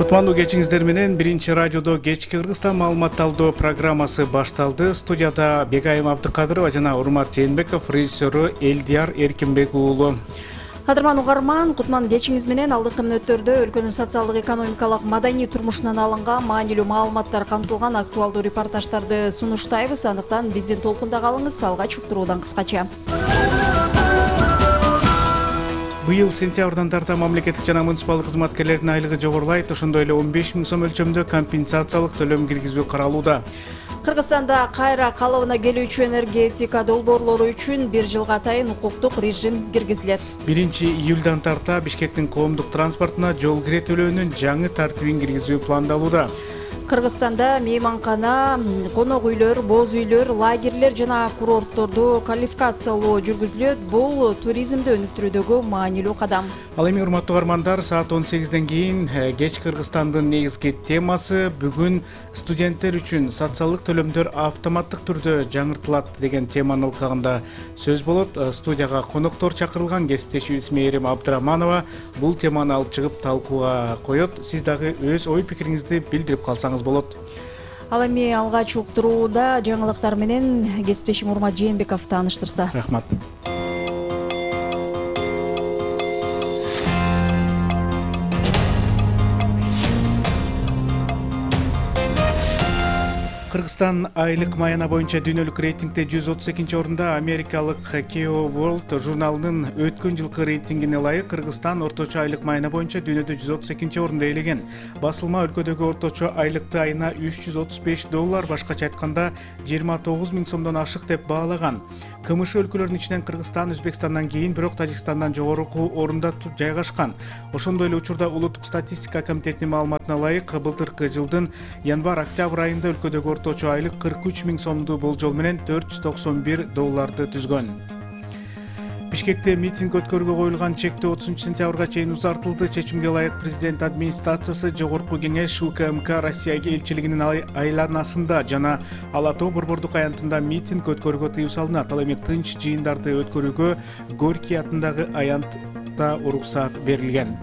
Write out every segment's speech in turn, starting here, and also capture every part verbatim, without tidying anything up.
Кутмандуу кечиңиздер менен биринчи радиодо кечки Кыргызстан маалымат талдоо программасы башталды. Студияда Бегайым Абдыкадырова жана Урмат Жээнбеков, режиссеру Элдияр Эркинбек уулу. Кадырман угарман, кутман кечиңиз менен алдыңкы мүнөттөрдө өлкөнүн социалдык, экономикалык, маданий турмушунан алынган маанилүү маалыматтар камтылган актуалдуу репортаждарды сунуштайбыз. Андыктан биздин толкунда калыңыз. Алгач уктуруудан кыскача. Быйыл сентябрдан тарта мамлекеттик жана муниципалдык кызматкерлердин айлыгы жогорулайт. Ошондой эле он беш миң сом өлчөмдө компенсациялык төлөм киргизүү каралууда. Кыргызстанда кайра калыбына келүүчү энергетика долбоорлору үчүн бир жылга атайын укуктук режим киргизилет. биринчи июлдан тарта Бишкектин коомдук транспортуна жол кире төлөөнүн жаңы тартибин киргизүү пландалууда. Кыргызстанда мейманкана, конок үйлөр, боз үйлөр, лагерлер жана курортторду квалификациялоо жүргүзүлөт. Бул туризмди өнүктүрүүдөгү маанилүү кадам. Ал эми урматтуу угармандар, саат он сегизден кийин кечки Кыргызстандын негизги темасы бүгүн студенттер үчүн социалдык төлөмдөр автоматтык түрдө жаңыртылат деген теманын алкагында сөз болот. Студияга коноктор чакырылган. Кесиптешибиз Мээрим Абдыраманова бул теманы алып чыгып талкууга коет. Сиз дагы өз ой пикириңизди билдирип калсаңыз болот. Ал эми алгач уктурууда жаңылыктар менен кесиптешим Урмат Жээнбеков тааныштырса. Рахмат. Кыргызстан айлык маяна боюнча дүйнөлүк рейтингде жүз отуз экинчи орунда. Америкалык Keo World журналынын өткөн жылкы рейтингине ылайык Кыргызстан орточо айлык маяна боюнча дүйнөдө жүз отуз экинчи орунду ээлеген. Басылма өлкөдөгү орточо айлыкты айына үч жүз отуз беш доллар, башкача айтканда жыйырма тогуз миң сомдон ашык деп баалаган. КМШ өлкөлөрүнүн ичинен Кыргызстан Өзбекстандан кийин, бирок Тажикстандан жогорку орунда жайгашкан. Ошондой эле учурда Улуттук статистика комитетинин маалыматына ылайык былтыркы жылдын январь-октябрь айында өлкөдөгү орточо айлык кырк үч миң сомду болжол менен төрт жүз токсон бир долларды түзгөн. Бишкекте митинг өткөрүүгө коюлган чектөө отузунчу сентябрга чейин узартылды. Чечимге ылайык президент администрациясы Жогорку кеңеш УКМК Россия элчилигинин айланасында жана Ала Тоо борбордук аянтында митинг өткөрүүгө тыюу салынат. Ал эми тынч жыйындарды өткөрүүгө Горький атындагы аянтта уруксат берилген.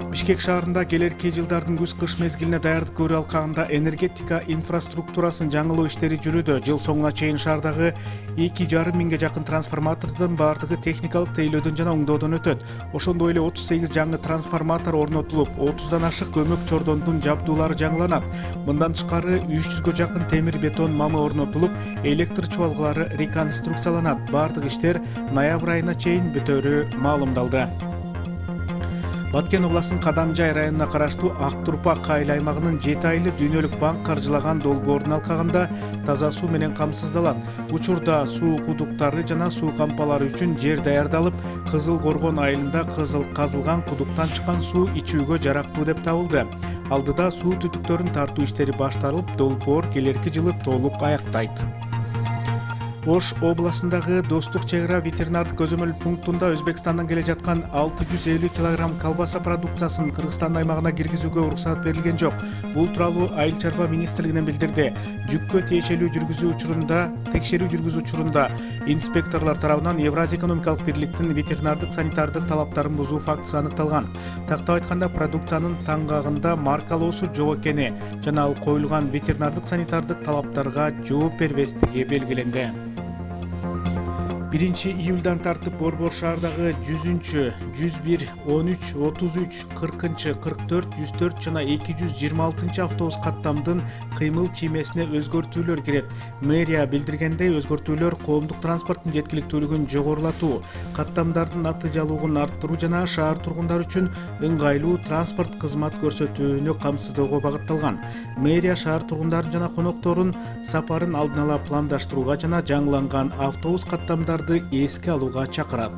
Бишкек шаарында келерки жылдардын күз-кыш мезгилине даярдык көрүү алкагында энергетика инфраструктурасын жаңылоо иштери жүрүүдө. Жыл соңуна чейин шаардагы эки жарым миңге жакын трансформатордун баардыгы техникалык тейлөөдөн жана оңдоодон өтөт. Ошондой эле отуз сегиз жаңы трансформатор орнотулуп, отуздан ашык көмөк чордондун жабдуулары жаңыланат. Мындан тышкары үч жүзгө жакын темир бетон мамы орнотулуп, электр чубалгылары реконструкцияланат. Баардык иштер ноябрь айына чейин бүтөөрү маалымдалды. Баткен областынын Кадамжай районуна караштуу Ак Турпак айыл аймагынын жети айлы дүйнөлүк банк каржылаган долбоордун алкагында таза суу менен камсыздалат. Учурда суу кудуктары жана суу кампалары үчүн жер даярдалып, Кызыл Коргон айылында кызыл казылган кудуктан чыккан суу ичүүгө жарактуу деп табылды. Алдыда суу түтүктөрүн тартуу иштери башталып, долбоор келерки жылы толук аяктайт. Ош областындагы Достук чек ара ветеринардык көзөмөл пунктунда Өзбекстандан келе жаткан алты жүз элүү килограмм колбаса продукциясын Кыргызстан аймагына киргизүүгө уруксат берилген жок. Бул тууралуу Айыл чарба министрлигинен билдирди. Жүккө тиешелүү жүргүзүү учурунда, текшерүү жүргүзүү учурунда инспекторлор тарабынан Евразия экономикалык бирликтин ветеринардык санитардык талаптарын бузуу фактысы аныкталган. Тактап айтканда, продукциянын таңгагында маркалоосу жок экени жана ал коюлган ветеринардык санитардык талаптарга жооп бербестиги белгиленди. биринчи июлдан тартып Борбор шаардагы жүзүнчү, жүз бир, он үч, отуз үч, кыркынчы, кырк төрт, жүз төрт жана эки жүз жыйырма алтынчы автобус каттамдын кыймыл чиймесине өзгөртүүлөр кирет. Мэрия билдиргендей, өзгөртүүлөр коомдук транспорттун жеткиликтүүлүгүн жогорулатуу, каттамдардын натыйжалуулугун арттыруу жана шаар тургундары үчүн ыңгайлуу транспорт кызмат көрсөтүүнү камсыздоого багытталган. Мэрия шаар тургундарын жана конокторун сапарын алдын ала пландаштырууга жана жаңыланган автобус каттамдары эске алууга чакырат.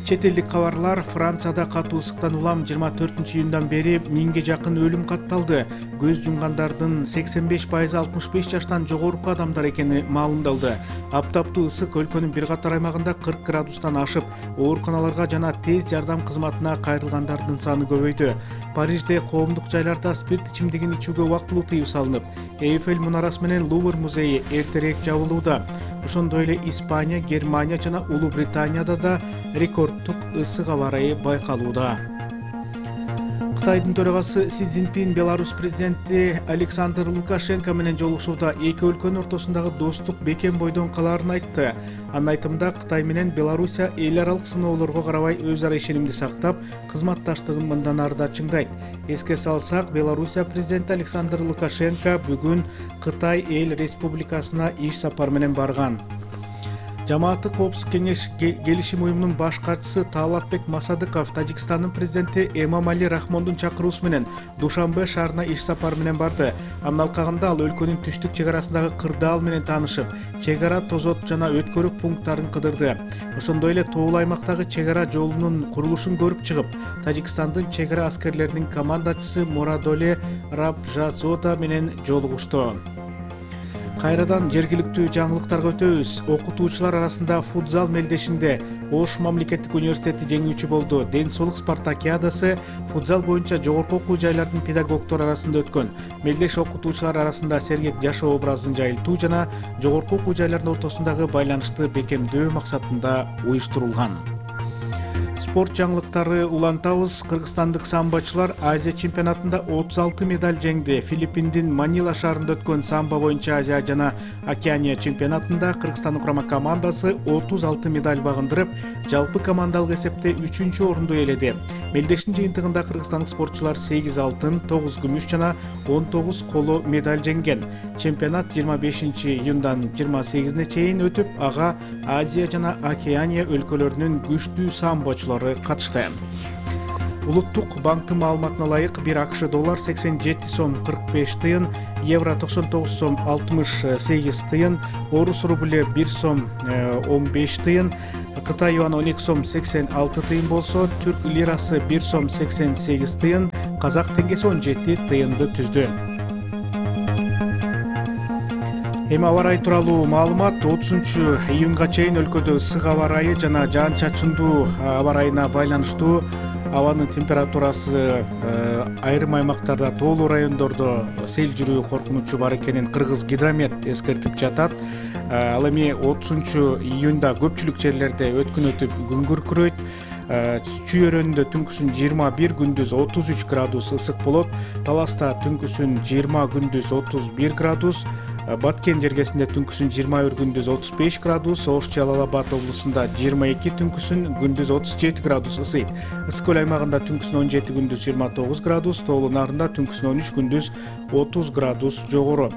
Чет элдик кабарлар. Францияда катуу ысыктан улам жыйырма төртүнчү июндан бери миңге жакын өлүм катталды. Көз жумгандардын сексен беш пайызы алтымыш беш жаштан жогорку адамдар экени маалымдалды. Аптаптуу ысык өлкөнүн бир катар аймагында кырк градустан ашып, ооруканаларга жана тез жардам кызматына кайрылгандардын саны көбөйдү. Парижде коомдук жайларда спирт ичимдигин ичүүгө убактылуу тыюу салынып, Эйфель мунарасы менен Лувр музейи эртерээк жабылууда. Ошондой эле Испания, Германия жана Улуу Британияда да рекордтук ысык аба ырайы байкалууда. Кытайдын төрагасы Си Цзиньпин Беларусь президенти Александр Лукашенко менен жолугушууда эки өлкөнүн ортосундагы достук бекем бойдон калаарын айтты. Анын айтымында Кытай менен Белоруссия эл аралык сыноолорго карабай өз ара ишенимди сактап, кызматташтыгын мындан ары да чыңдайт. Эске салсак, Белоруссия президенти Александр Лукашенко бүгүн Кытай эл республикасына иш сапар менен барган. Жамааттык коопсуздук кеңеш келишим уюмунун баш катчысы Таалатбек Масадыков Тажикстандын президенти Эмомали Рахмондун чакыруусу менен Душанбе шаарына иш сапар менен барды. Анын алкагында ал өлкөнүн түштүк чек арасындагы кырдаал менен таанышып, чек ара тозот жана өткөрүү пункттарын кыдырды. Ошондой эле тоолуу аймактагы чек ара жолунун курулушун көрүп чыгып, Тажикстандын чек ара аскерлеринин командачысы Морадоле Рабжазода менен жолугушту. Кайрадан жергиликтүү жаңылыктарга өтөбүз. Окутуучулар арасында футзал мелдешинде Ош мамлекеттик университети жеңүүчү болду. Ден соолук спартакиадасы футзал боюнча жогорку окуу жайлардын педагогдору арасында өткөн. Мелдеш окутуучулар арасында сергек жашоо образын жайылтуу жана жогорку окуу жайлардын ортосундагы байланышты бекемдөө максатында уюштурулган. Спорт жаңылыктары улантабыз. Кыргызстандык самбочулар Азия чемпионатында отуз алты медаль жеңди. Филиппиндин Манила шаарында өткөн самбо боюнча Азия жана Океания чемпионатында Кыргызстандын курама командасы отуз алты медаль багындырып, жалпы командалык эсепте үчүнчү орунду ээледи. Мелдештин жыйынтыгында кыргызстандык спортчулар сегиз алтын, тогуз күмүш жана он тогуз коло медаль жеңген. Чемпионат жыйырма бешинчи июндан жыйырма сегизине чейин өтүп, ага Азия жана Океания өлкөлөрүнүн күчтүү самбочулары катышты. Улуттук банктын маалыматына ылайык бир АКШ доллар сексен жети сом кырк беш тыйын, евро токсон тогуз сом алтымыш сегиз тыйын, орус рубле бир сом он беш тыйын, Кытай юаны он эки сом сексен алты тыйын болсо, түрк лирасы бир сом сексен сегиз тыйын, казак теңгеси он жети тыйынды түздү. Эми аба ырайы тууралуу маалымат. отузунчу июнга чейин өлкөдө ысык аба ырайы жана жаан-чачындуу аба ырайына байланыштуу абанын температурасы айрым аймактарда, тоолуу райондордо сел жүрүү коркунучу бар экенин Кыргыз гидромет эскертип жатат. Ал эми отузунчу июнда көпчүлүк жерлерде өткүн өтүп күн күркүрөйт. Чүй өрөөнүндө түнкүсүн жыйырма бир, күндүз отуз үч градус ысык болот. Таласта түнкүсүн жыйырма, күндүз отуз бир градус. Баткен жергесинде түнкүсүн жыйырма бир, күндүз отуз беш градус, Ош Жалал Абад облусунда жыйырма эки, түнкүсүн күндүз отуз жети градус ысыйт. Ысык көл аймагында түнкүсүн он жети, күндүз жыйырма тогуз градус, Тоолуу Нарында түнкүсүн он үч, күндүз отуз градус жогору.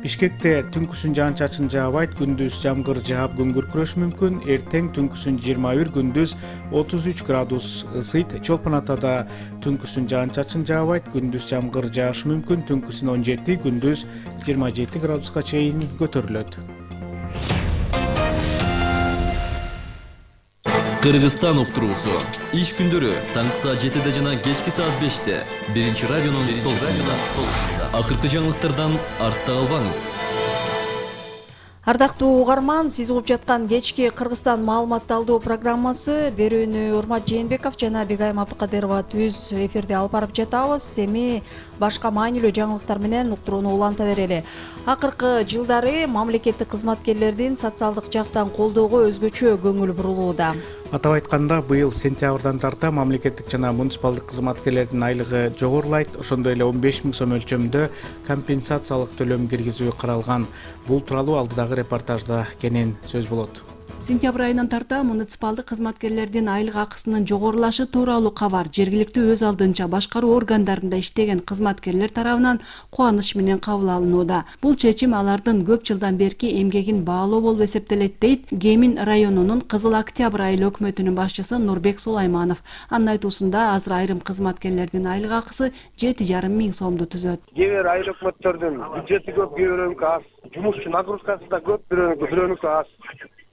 Бишкекте түнкүсүн жаан-чачын жаабайт, күндүз жамгыр жаап күн күркүрөшү мүмкүн. Эртең түнкүсүн жыйырма бир, күндүз отуз үч градус ысыйт. Чолпон Атада түнкүсүн жаан-чачын жаабайт, күндүз жамгыр жаашы мүмкүн. Түнкүсүн он жети, күндүз жыйырма жети градуска чейин көтөрүлөт. Кыргызстан уктуруусу. Иш күндөрү таңкы саат жетиде жана кечки саат беште. Биринчи радионун толкунунда. Акыркы жаңылыктардан артта калбаңыз. Ардактуу угарман, сиз угуп жаткан кечки Кыргызстан маалымат алдоо программасы берүүнү Урмат Жээнбеков жана Бегайым Абдыкадырова түз эфирде алып барып жатабыз. Эми башка маанилүү жаңылыктар менен уктурууну уланта берели. Акыркы жылдары мамлекеттик кызматкерлердин социалдык жактан колдоого өзгөчө көңүл бурулууда. Атап айтканда, быйыл сентябрдан тарта мамлекеттик жана муниципалдык кызматкерлердин айлыгы жогорулайт. Ошондой эле он беш миң сом өлчөмүндө компенсациялык төлөм киргизүү каралган. Бул тууралуу алдыдагы репортажда кенен сөз болот. Сентябрь айынан тарта муниципалдык кызматкерлердин айлык акысынын жогорулашы тууралуу кабар жергиликтүү өз алдынча башкаруу органдарында иштеген кызматкерлер тарабынан кубаныч менен кабыл алынууда. Бул чечим алардын көп жылдан берки эмгегин баалоо болуп эсептелет дейт Гемин районунун Кызыл Октябрь айыл өкмөтүнүн башчысы Нурбек Сулайманов. Анын айтуусунда азыр айрым кызматкерлердин айлык акысы жети жарым миң сомду түзөт. Кээ бир айыл өкмөттөрдүн бюджети көп, кээ бирөөнүкү аз, жумушчу нагрузкасы да көп, бирөөнүкү бирөөнүкү аз.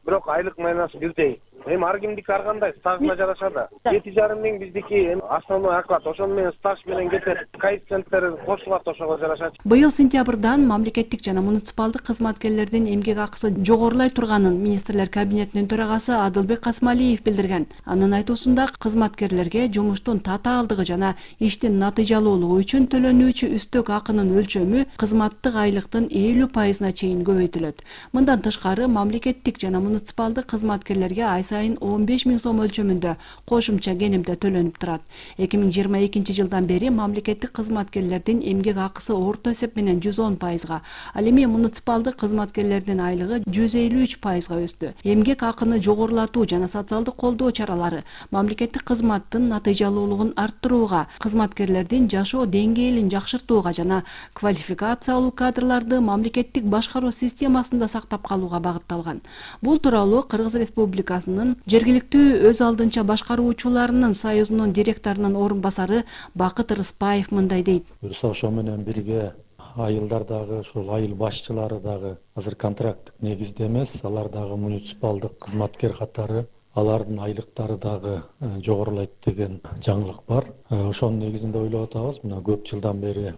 Бирок айлык майнасы бирдей. Эми ар кимдики ар кандай стажына жараша да. жети жарым миң биздики эми основной оклад, ошону менен стаж менен кетет. Коэффициенттери кошулат, ошого жараша. Быйыл сентябрдан мамлекеттик жана муниципалдык кызматкерлердин эмгек акысы жогорулай турганын министрлер кабинетинин төрагасы Адылбек Касмалиев билдирген. Анын айтуусунда кызматкерлерге жумуштун татаалдыгы жана иштин натыйжалуулугу үчүн төлөнүүчү үстөк акынын өлчөмү кызматтык айлыктын элүү пайызына чейин көбөйтүлөт. Мындан тышкары мамлекеттик жана муниципалдык кызматкерлерге ай сайын он беш миң сом өлчөмүндө кошумча кенемде төлөнүп турат. эки миң жыйырма экинчи жылдан бери мамлекеттик кызматкерлердин эмгек акысы орто эсеп менен жүз он пайызга, ал эми муниципалдык кызматкерлердин айлыгы жүз элүү үч пайызга өстү. Эмгек акыны жогорулатуу жана социалдык колдоо чаралары мамлекеттик кызматтын натыйжалуулугун арттырууга, кызматкерлердин жашоо деңгээлин жакшыртууга жана квалификациялуу кадрларды мамлекеттик башкаруу системасында сактап калууга багытталган. Бул тууралуу Кыргыз Республикасынын жергиликтүү өз алдынча башкаруучуларынын союзунун директорунун орун басары Бакыт Рыспаев мындай дейт. Буюрса ошо менен бирге айылдар дагы, ошол айыл башчылары дагы азыр контракттык негизде эмес, алар дагы муниципалдык кызматкер катары, алардын айлыктары дагы жогорулайт деген жаңылык бар. Ошонун негизинде ойлоп атабыз. Мына көп жылдан бери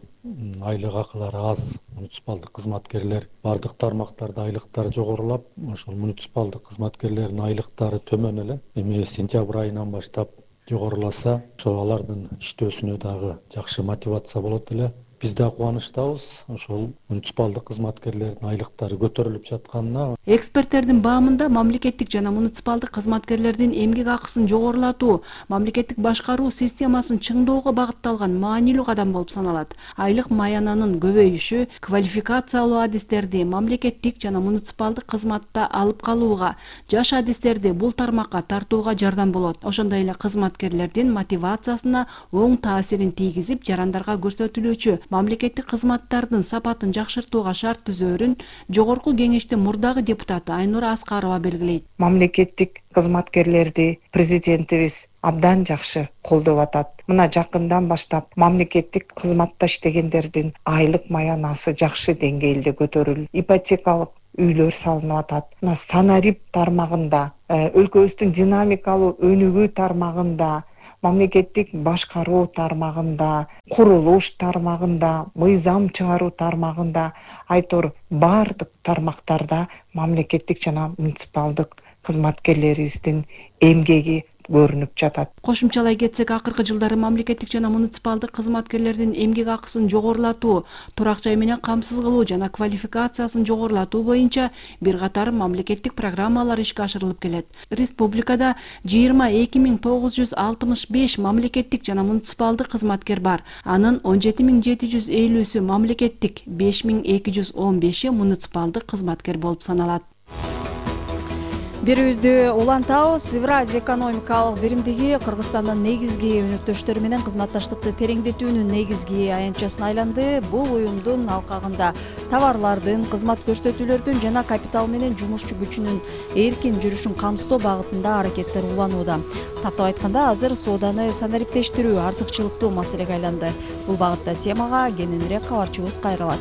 айлык акылары аз муниципалдык кызматкерлер бардык тармактарда айлыктары жогорулап, ошол муниципалдык кызматкерлердин айлыктары төмөн эле. Эми сентябрь айынан баштап жогоруласа, ошол алардын иштөөсүнө дагы жакшы мотивация болот эле. Биз да кубанычтабыз ошол муниципалдык кызматкерлердин айлыктары көтөрүлүп жатканына. Эксперттердин баамында мамлекеттик жана муниципалдык кызматкерлердин эмгек акысын жогорулатуу мамлекеттик башкаруу системасын чыңдоого багытталган маанилүү кадам болуп саналат. Айлык маянанын көбөйүшү квалификациялуу адистерди мамлекеттик жана муниципалдык кызматта алып калууга, жаш адистерди бул тармакка тартууга жардам болот. Ошондой эле кызматкерлердин мотивациясына оң таасирин тийгизип, жарандарга көрсөтүлүүчү мамлекеттик кызматтардын сапатын жакшыртууга шарт түзөөрүн жогорку кеңештин мурдагы депутаты Айнура Аскарова белгилейт. Мамлекеттик кызматкерлерди президентибиз абдан жакшы колдоп атат. Мына жакындан баштап мамлекеттик кызматта иштегендердин айлык маянасы жакшы деңгээлде көтөрүлүп, ипотекалык үйлөр салынып атат. Мына санарип тармагында, өлкөбүздүн динамикалуу өнүгүү тармагында, мамлекеттик башкаруу тармагында, курулуш тармагында, мыйзам чыгаруу тармагында, айтор бардык тармактарда мамлекеттик жана муниципалдык кызматкерлерибиздин эмгеги көрүнүп жатат. Кошумчалай кетсек, акыркы жылдары мамлекеттик жана муниципалдык кызматкерлердин эмгек акысын жогорулатуу, турак жай менен камсыз кылуу жана квалификациясын жогорулатуу боюнча бир катар мамлекеттик программалар ишке ашырылып келет. Республикада жыйырма эки миң тогуз жүз алтымыш беш мамлекеттик жана муниципалдык кызматкер бар. Анын он жети миң жети жүз элүүсү мамлекеттик, беш миң эки жүз он беши муниципалдык кызматкер болуп саналат. Бирибизди улантабыз. Евразия экономикалык биримдиги Кыргызстандын негизги өнөктөштөрү менен кызматташтыкты тереңдетүүнүн негизги аянтчасына айланды. Бул уюмдун алкагында товарлардын, кызмат көрсөтүүлөрдүн жана капитал менен жумушчу күчүнүн эркин жүрүшүн камсыздоо багытында аракеттер уланууда. Тактап айтканда, азыр сооданы санариптештирүү артыкчылыктуу маселеге айланды. Бул багытта темага кененирээк кабарчыбыз кайрылат.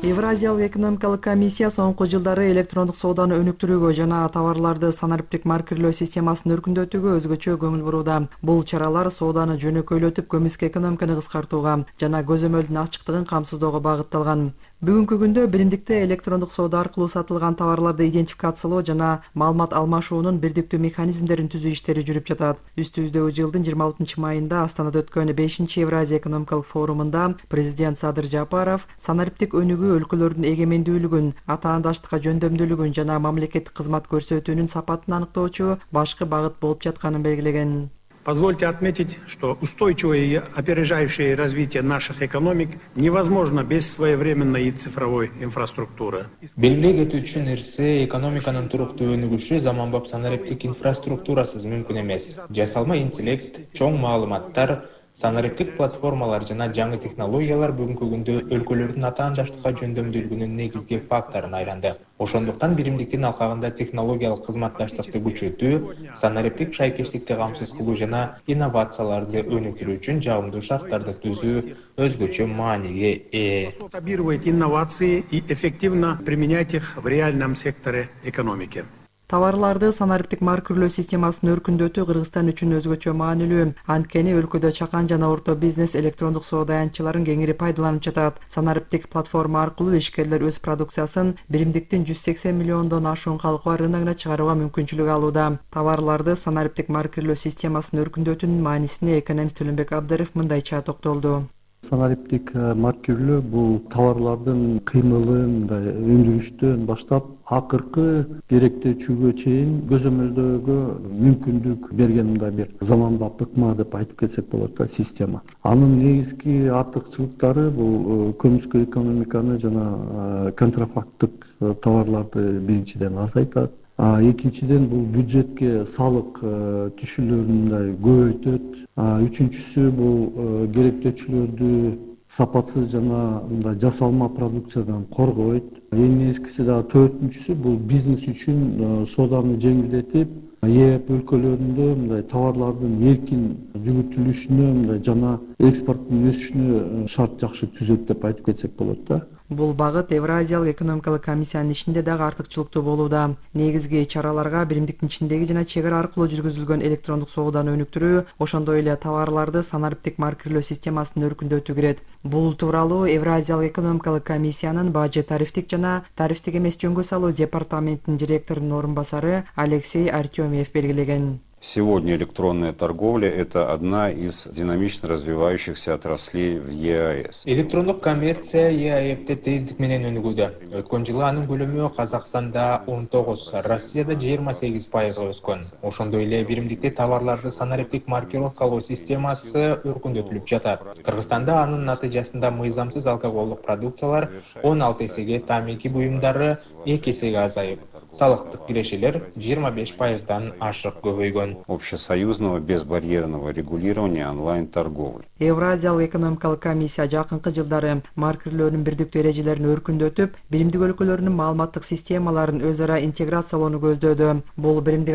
Евразиялык экономикалык комиссия соңку жылдары электрондук сооданы өнүктүрүүгө жана товарларды санариптик маркерлөө системасын өркүндөтүүгө өзгөчө көңүл бурууда. Бул чаралар сооданы жөнөкөйлөтүп, көмүскө экономиканы кыскартууга жана көзөмөлдүн ачыктыгын камсыздоого багытталган. Бүгүнкү күндө биримдикте электрондук соода аркылуу сатылган товарларды идентификациялоо жана маалымат алмашуунун бирдиктүү механизмдерин түзүү иштери жүрүп жатат. Үстүбүздөгү жылдын жыйырма алтынчы майында Астанада өткөн бешинчи Евразия экономикалык форумунда президент Садыр Жапаров санариптик өнүгүү өлкөлөрдүн эгемендүүлүгүн, атаандаштыкка жөндөмдүүлүгүн жана мамлекеттик кызмат көрсөтүүнүн сапатын аныктоочу башкы багыт болуп жатканын белгилеген. Позвольте отметить, что устойчивое и опережающее развитие наших экономик невозможно без своевременной цифровой инфраструктуры. Белгилей кетүүчү нерсе, экономиканын туруктуу өнүгүшү заманбап санариптик инфраструктурасыз мүмкүн эмес. Жасалма интеллект, чоң маалыматтар, санариптик платформалар жана жаңы технологиялар бүгүнкү күндө өлкөлөрдүн атаандаштыкка жөндөмдүүлүгүнүн негизги факторуна айланды. Ошондуктан биримдиктин алкагында технологиялык кызматташтыкты күчөтүү, санариптик шайкештикти камсыз кылуу жана инновацияларды өнүктүрүү үчүн жагымдуу шарттарды түзүү өзгөчө мааниге ээ. Масштабировать инновации и эффективно применять их в реальном секторе экономики. Товарларды санариптик маркерлөө системасын өркүндөтүү Кыргызстан үчүн өзгөчө маанилүү. Анткени өлкөдө чакан жана орто бизнес электрондук соода аянтчыларын кеңири пайдаланып жатат. Санариптик платформа аркылуу ишкерлер өз продукциясын биримдиктин жүз сексен миллиондон ашуун калкы бар рыногуна чыгарууга мүмкүнчүлүк алууда. Товарларды санариптик маркерлөө системасын өркүндөтүүнүн маанисине экономист Төлөнбек Абдыров мындайча токтолду. санариптик маркирлөө бул товарлардын кыймылын, мындай өндүрүштөн баштап акыркы керектөөчүгө чейин көзөмөлдөөгө мүмкүндүк берген мындай бир заманбап ыкма деп айтып кетсек болот да система. Анын негизги артыкчылыктары бул көмүскө экономиканы жана контрафакттык товарларды биринчиден азайтат. Экинчиден бул бюджетке салык түшүүлөрүн мындай көбөйтөт. Үчүнчүсү бул керектөөчүлөрдү сапатсыз жана мындай жасалма продукциядан коргойт. Эң негизгиси дагы төртүнчүсү бул бизнес үчүн сооданы жеңилдетип, ЕЭП өлкөлөрүндө мындай товарлардын эркин жүгүртүлүшүнө мындай жана экспорттун өсүшүнө шарт жакшы түзөт деп айтып кетсек болот да. Бул багыт Евразиялык экономикалык комиссиянын ишинде дагы артыкчылыктуу болууда. Негизги чараларга биримдиктин ичиндеги жана чек ара аркылуу жүргүзүлгөн электрондук сооданы өнүктүрүү, ошондой эле товарларды санариптик маркирлөө системасын өркүндөтүү кирет. Бул тууралуу Евразиялык экономикалык комиссиянын бажы тарифтик жана тарифтик эмес жөнгө салуу департаментинин директорунун орун басары Алексей Артемьев белгилеген. Сегодня электронная торговля – это одна из динамично развивающихся отраслей в ЕАЭС. Электрондук коммерция ЕАЭПте тездик менен өнүгүүдө. Өткөн жылы анын көлөмү Казакстанда он тогуз, Россияда жыйырма сегиз пайызга өскөн. Ошондой эле биримдикте товарларды санариптик маркировкалоо системасы өркүндөтүлүп жатат. Кыргызстанда анын натыйжасында мыйзамсыз алкоголдук продукциялар он алты эсеге, тамаки буюмдары эки эсеге азайып, салыктык кирешелер жыйырма беш пайыздан ашык көбөйгөн. Общесоюзного безбарьерного регулирования онлайн-торговли. Евразиялык экономикалык комиссия жакынкы жылдары маркирлөөнүн бирдиктүү эрежелерин өркүндөтүп, биримдик өлкөлөрүнүн маалыматтык системаларын өз ара интеграциялоону көздөөдө. Бул биримдик